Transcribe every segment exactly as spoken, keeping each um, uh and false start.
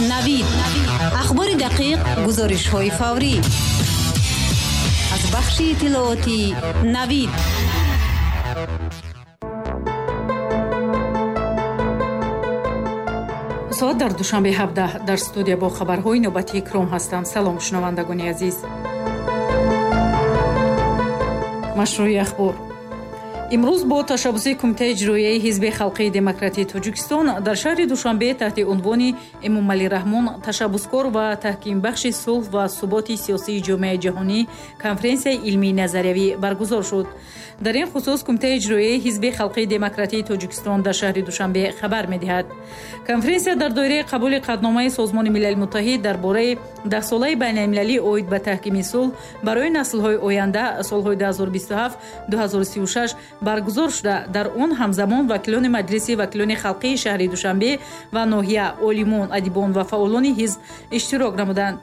Навид. Ахбори дақиқ, гузоришҳои фаврӣ. Аз бахши иттилоотии Навид. Соат дар Душанбе ҳабдаҳ. Дар студия бо хабарҳои навбатии Икром ҳастам. Салом, шунавандагони азиз. Машрӯи ахбор. Имрӯз бо ташаббуси Кумитаи иҷроияи Ҳизби халқии демократии Тоҷикистон дар шаҳри Душанбе таҳти унвони Эмомалӣ Раҳмон ташаббускор ва таҳкимбахши сулҳ ва суботи сиёсии ҷомеаи ҷаҳонӣ конференсияи илмии назариявӣ баргузор шуд. Дар ин хусус Кумитаи иҷроияи Ҳизби халқии демократии Тоҷикистон дар шаҳри Душанбе хабар медиҳад. Конференсия дар доираи қабули қатъномаи Созмони Милали Муттаҳид дар бораи даҳсолаи байналмилалӣ оид ба таҳкими сулҳ барои наслҳои оянда солҳои ду ҳазору бисту ҳафт ду ҳазору сию шаш баргузор шуда, дар он ҳамзамон вакилони Маҷлиси вакилони халқии шаҳри Душанбе ва ноҳия, олимон, адибон ва фаъолони ҳизб иштирок намуданд.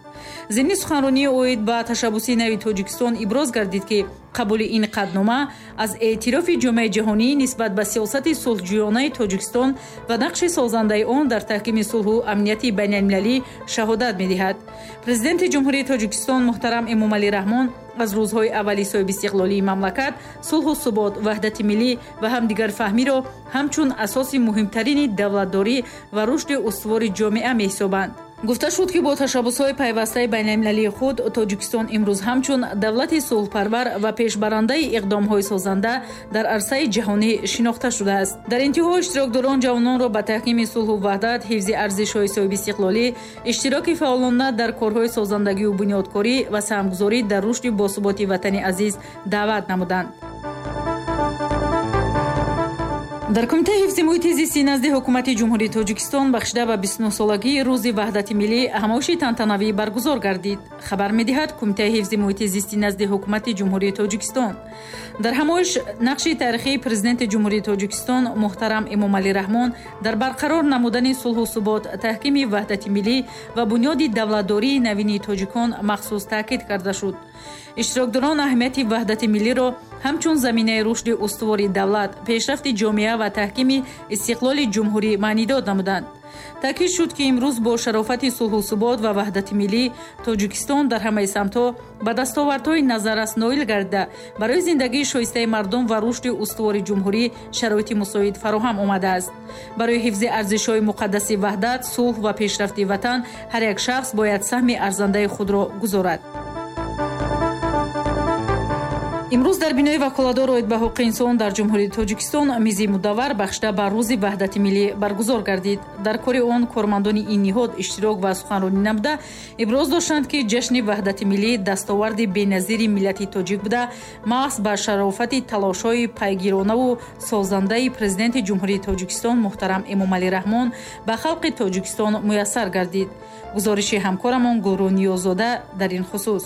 Зимни суханронии оид ба ташаббуси нави Тоҷикистон иброз гардид, ки қабули ин қатънома аз эътирофи ҷомеаи ҷаҳонӣ нисбат ба сиёсати сулҳҷӯёнаи Тоҷикистон ва нақши созандаи он дар таҳкими сулҳу амнияти байналмилалӣ шаҳодат медиҳад. Президенти Ҷумҳурии Тоҷикистон муҳтарам Эмомалӣ Раҳмон аз рӯзҳои аввали соҳибистиқлолии мамлакат сулҳу субот, ваҳдати миллӣ ва ҳамдигарфаҳмиро ҳамчун асоси муҳимтарини давлатдорӣ ва рушди устувори ҷомеа меҳисобанд. Гуфта шуд, ки бо ташаббусҳои пайвастаи байналмилалии худ Тоҷикистон имрӯз ҳамчун давлати сулҳпарвар ва пешбарандаи иқдомҳои созанда дар арсаи ҷаҳонӣ шинохта шудааст. Дар интиҳо иштирокдорон ҷавононро ба таҳкими сулҳу ваҳдат, ҳифзи арзишҳои соҳибистиқлолӣ, иштироки фаъолона дар корҳои созандагию бунёдкорӣ ва саҳмгузорӣ дар рушди босуботи ватани азиз даъват намуданд. Дар Кумитаи ҳифзи муҳити зисти назди Ҳукумати Ҷумҳурии Тоҷикистон бахшида ба бисту нӯҳсолагии рӯзи ваҳдати миллӣ ҳамоиши тантанавӣ баргузор гардид. Хабар медиҳад Кумитаи ҳифзи муҳити зисти назди Ҳукумати Ҷумҳурии Тоҷикистон. Дар ҳамоиш нақши таърихии Президенти Ҷумҳурии Тоҷикистон муҳтарам Эмомалӣ Раҳмон дар барқарор намудани сулҳу субот, таҳкими ваҳдати миллӣ ва бунёди давлатдории навини тоҷикон махсус таъкид карда шуд. Иштирокдорон аҳамияти ваҳдати миллиро ҳамчун заминаи рушди устувори давлат, пешрафти ҷомеа ва таҳкими истиқлоли ҷумҳурӣ маънидод намуданд. Таъкид шуд, ки имрӯз бо шарофати сулҳу субот ва ваҳдати миллӣ Тоҷикистон дар ҳамаи самтҳо ба дастовардҳои назаррас ноил гардида, барои зиндагии шоистаи мардум ва рушди устувори ҷумҳурӣ шароити мусоид фароҳам омадааст. Барои ҳифзи арзишҳои муқаддаси ваҳдат, сулҳ ва пешрафти ватан ҳар як шахс бояд саҳми арзандаи худро гузорад. Имрӯз дар бинои ваколатдор оид ба ҳуқуқи инсон дар Ҷумҳурии Тоҷикистон мизи мудаввар бахшида ба рӯзи ваҳдати миллӣ баргузор гардид. Дар кори он кормандони ин ниҳод иштирок ва суханронӣ намуда иброз доштанд, ки ҷашни ваҳдати миллӣ дастоварди беназири миллати тоҷик буда, маҳз ба шарофати талошҳои пайгиронаву созандаи Президенти Ҷумҳурии Тоҷикистон муҳтарам Эмомалӣ Раҳмон ба халқи Тоҷикистон муяссар гардид. Гузориши ҳамкорамон Гулрӯ Ниёззода дар ин хусус.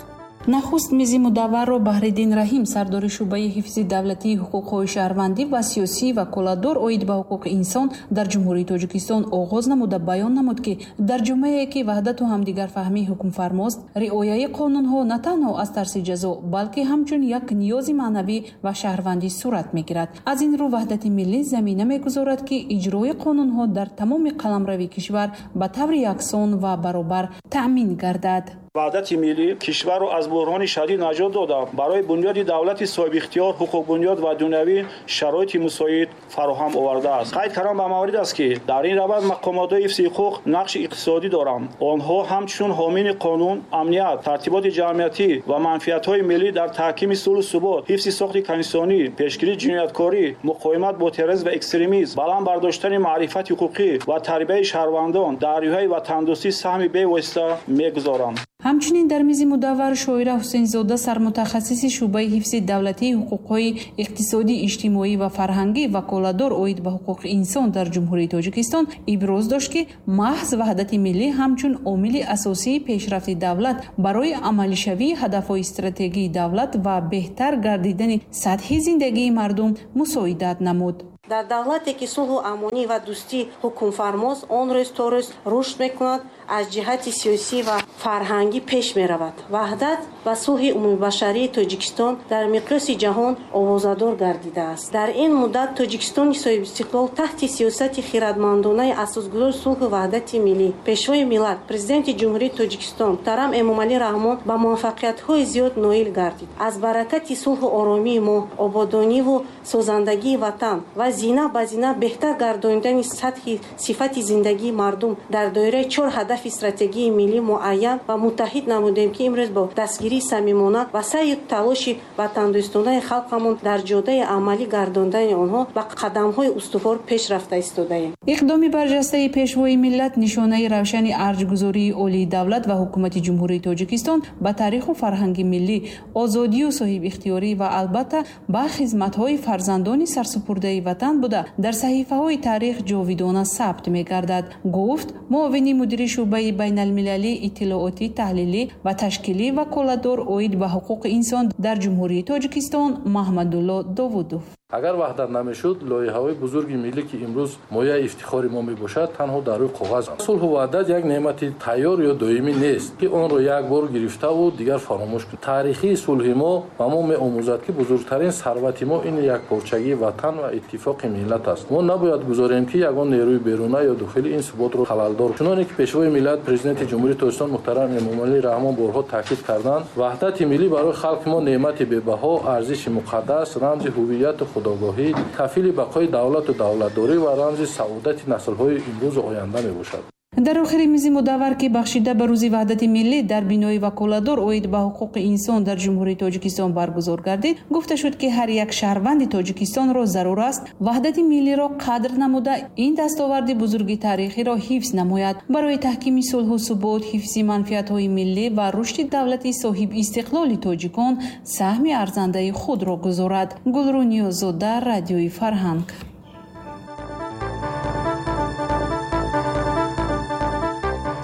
Нахуст мизи мудавварро Баҳриддин Раҳим, сардори шӯъбаи ҳифзи давлатии ҳуқуқҳои шаҳрвандӣ ва сиёсӣ ваколатдор оид ба ҳуқуқи инсон дар Ҷумҳурии Тоҷикистон оғоз намуда баён намуд, ки дар ҷомеае ки ваҳдату ҳамдигарфаҳмӣ ҳукмфармост, риояи қонунҳо на танҳо аз тарси ҷазо, балки ҳамчун як ниёзи маънавӣ ва шаҳрвандӣ сурат мегирад. Аз ин рӯ ваҳдати миллӣ замина мегузорад, ки иҷрои қонунҳо дар тамоми қаламрави кишвар ба таври яксон ва баробар таъмин гардад. Ваҳдати миллӣ кишварро аз буҳрони шадид наҷот дода, барои бунёди давлати соҳибихтиёр, ҳуқуқбунёд ва дунявӣ шароити мусоид фароҳам овардааст. Қайд кардам ба маврид аст, ки дар ин раванд мақомотҳои ҳифзи ҳуқуқ нақши иқтисодӣ доранд. Онҳо ҳамчун ҳомини қонун, амният, тартиботи ҷамъиятӣ ва манфиатҳои миллӣ дар таҳкими сулҳу субот, ҳифзи сохти конститутсионӣ, пешгирии ҷинояткорӣ, муқовимат бо терроризм ва экстремизм, баланд бардоштани маърифати ҳуқуқӣ ва тарбияи шаҳрвандон дар рӯҳияи ватандӯстӣ саҳми бевосита мегузоранд. Ҳамчунин дар мизи мудаввар Шоира Ҳусейнзода, сармутахассиси шӯъбаи ҳифзи давлатии ҳуқуқҳои иқтисодӣ, иҷтимоӣ ва фарҳангӣ ваколатдор оид ба ҳуқуқи инсон дар Ҷумҳурии Тоҷикистон иброз дошт, ки маҳз ваҳдати миллӣ ҳамчун омили асосии пешрафти давлат барои амалишавии ҳадафҳои стратегии давлат ва беҳтар гардидани сатҳи зиндагии мардум мусоидат намуд. Дар давлате ки сулҳу амонӣ ва дӯстӣ ҳукмфармост, он рӯз то рӯз рушд мекунад, аз ҷиҳати сиёсӣ ва фарҳангӣ пеш меравад. Ваҳдат ва сулҳи умумибашарии Тоҷикистон дар миқёси ҷаҳон овозадор гардидааст. Дар ин муддат Тоҷикистони соҳибистиқлол таҳти сиёсати хирадмандонаи асосгузори сулҳу ваҳдати миллӣ, Пешвои миллат, Президенти Ҷумҳурии Тоҷикистон муҳтарам Эмомалӣ Раҳмон ба муваффақиятҳои зиёд ноил гардид. Аз баракати сулҳу оромии мо, ободониву созандагии ватан ва зина ба зина беҳтар гардонидани сатҳи сифати зиндагии мардум дар доираи чор ҳадафи стратегии миллӣ муайян ва муттаҳид намудем, ки имрӯз бо дастгирии самимона ва саъю талоши ватандӯстонаи халқамон дар ҷодаи амалӣ гардондани онҳо ба қадамҳои устувор пеш рафта истодаем. Иқдоми барҷастаи Пешвои миллат нишонаи равшани арҷгузории олии давлат ва ҳукумати Ҷумҳурии Тоҷикистон ба таъриху фарҳанги миллӣ, озодию соҳибихтиёрӣ ва албатта ба хизматҳои фарзандони сарсупурдаи ватан буда дар саҳифаҳои таърих ҷовидона сабт мегардад, гуфт муовини мудири шӯъбаи байналмилалӣ иттилоотӣ, таҳлилӣ ва ташкилӣ ваколатдор оид ба ҳуқуқи инсон дар Ҷумҳурии Тоҷикистон Маҳмадулло Довудов. Агар ваҳдат намешуд, лоиҳаҳои бузурги миллӣ, ки имрӯз мояи ифтихори мо мебошад, танҳо дар рӯи коғаз. Сулҳу ваҳдат як неъмати тайёр ё доимӣ нест, ки онро як бор гирифтаву дигар фаромӯш кунем. Таърихии сулҳи мо ба мо меомӯзад, ки бузургтарин сарвати мо ин якпорчагии ватан ва иттифоқи миллат аст. Мо набояд гузорем, ки ягон нерӯи беруна ё дохили ин суботро халалдор. Чуноне ки Пешвои миллат, Президенти Ҷумҳурии Тоҷикистон муҳтарам Эмомалӣ Раҳмон борҳо таъкид карданд, ваҳдати миллӣ барои халқи мо неъмати бебаҳо, арзиши муқаддас, рамзи ҳувияту худогоҳӣ, кафили бақои давлату давлатдорӣ ва рамзи саодати наслҳои имрӯзу оянда мебошад. Дар охири мизи мудаввар, ки бахшида ба рӯзи ваҳдати миллӣ дар бинои ваколатдор оид ба ҳуқуқи инсон дар Ҷумҳурии Тоҷикистон баргузор гардид, гуфта шуд, ки ҳар як шаҳрванди Тоҷикистонро зарур аст ваҳдати миллиро қадр намуда, ин дастоварди бузурги таърихиро ҳифз намояд. Барои таҳкими сулҳу субот, ҳифзи манфиатҳои миллӣ ва рушди давлати соҳибистиқлоли тоҷикон саҳми арзандаи худро гузорад. Гулрӯ Ниёзода, Радиои Фарҳанг.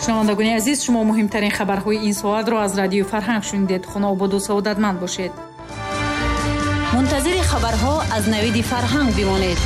Шунавандагони азиз, шумо муҳимтарин хабарҳои ин соатро аз Радиои Фарҳанг шунидед. Хонаободу саодатманд бошед. Мунтазири хабарҳо аз Навиди Фарҳанг бимонед.